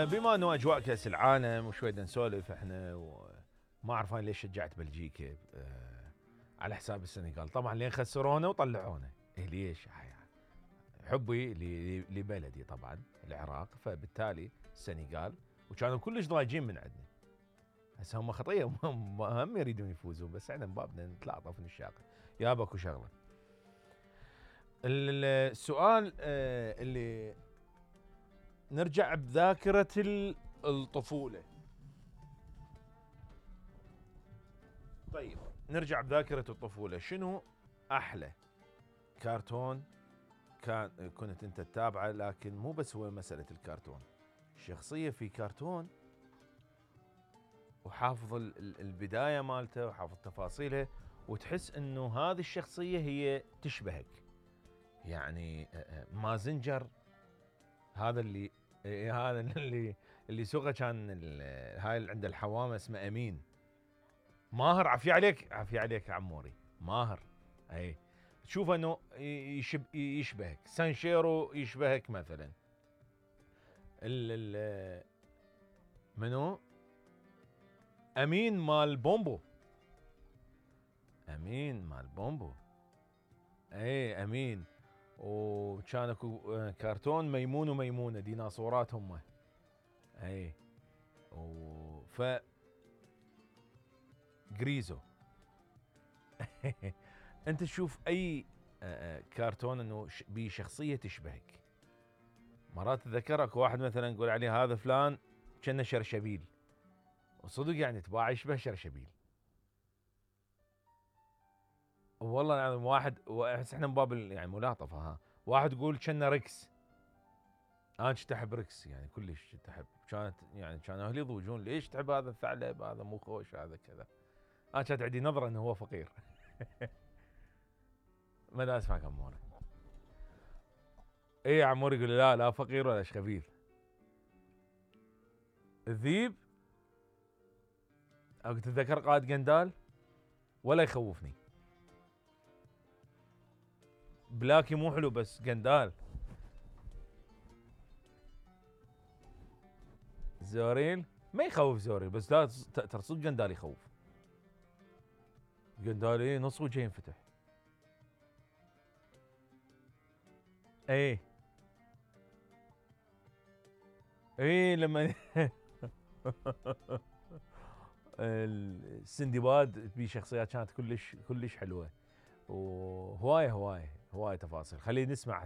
بما انه اجواء كاس العالم وشوي نسولف احنا وما اعرف انا ليش شجعت بلجيكا على حساب السنغال. طبعا لين خسرونا وطلعونا. ليش؟ حبي لبلدي طبعا العراق، فبالتالي السنغال وكانوا كلش ضايجين من عندنا. هسه هم خطيه هم يريدون يفوزون، بس احنا بابنا نتلاطف ونشاقر. يابا اكو شغله. السؤال اللي نرجع بذاكرة الطفولة. طيب نرجع بذاكرة الطفولة، شنو أحلى كرتون كنت أنت تتابعه؟ لكن مو بس هو مسألة الكرتون، الشخصية في كرتون وحافظ البداية مالته وحافظ تفاصيلها، وتحس إنه هذه الشخصية هي تشبهك. يعني مازنجر هذا اللي سوقه كان هاي اللي عنده الحوامه اسمه امين. ماهر، عافية عليك عموري، ماهر. اي تشوف انه يشبهك. سانشيرو يشبهك مثلا. منو؟ امين مال بومبو. اي امين. وكان اكو كرتون ميمون وميمونه، ديناصورات هم. اي ف جريزو. انت تشوف اي كرتون انه بيه شخصيه تشبهك. مرات تذكر اكو واحد مثلا نقول عليه هذا فلان كأنه شرشبيل، وصدق يعني تباع يشبه شرشبيل. والله العظيم واحد، احس احنا من باب يعني ملاطفه. ها واحد يقول كأنه ريكس. انا كنت احب ريكس، يعني كلش كنت احب. كانوا اهلي يضوجون ليش تحب هذا الثعلب، هذا مو خوش، هذا كذا. انا كانت عندي نظره انه هو فقير. ما دا اسمعك عمور. ايه عمور يقول لا فقير ولا شخبيث. الذيب او تتذكر قائد قندال ولا يخوفني. بلاكي مو حلو بس قندال. زوريل ما يخوف زوريل، بس لا ترى صدق قندال يخوف. قندال ايه نص وجهه ينفتح. ايه لما السندباد بشخصيات كانت كلش حلوه، وهوايه تفاصيل. خلينا نسمع